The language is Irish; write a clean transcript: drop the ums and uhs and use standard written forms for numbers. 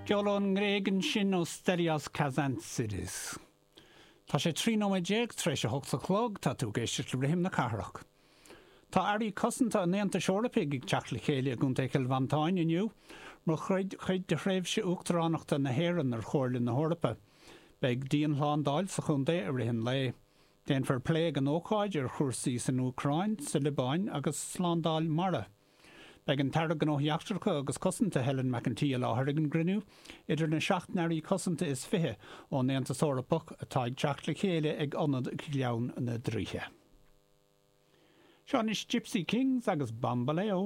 Ceol ón nGréig ansin ó Stelios Kazantzidis. Tá sé 13 nóiméad tar éis a hocht a chlog, tá tú ag éisteacht le Rithim na Cathrach. Tá Airí Cosanta an Aontais Eorpaigh ag teacht le chéile i gContae Chill Mhantáin inniu mar chuid de thréimhse uachtaránachta na hÉireann ar Chomhairle na hEorpa. Beidh dianshlándáil sa chontae i rith an lae. Déanfar plé ag an ócáid ar chúrsaí san Úcráin, sa Liobáin agus slándáil mara. Beidh an tAire Gnóthaí Eachtracha agus Cosanta Helen McEntee i láthair ag an gcruinniú idir na seacht n-airí cosanta is 20 ón Aontas Eorpach atá ag teacht le chéile ag Ionad Ghleann na dTraoithe. Seo anois Gipsy Kings agus Bamboleo.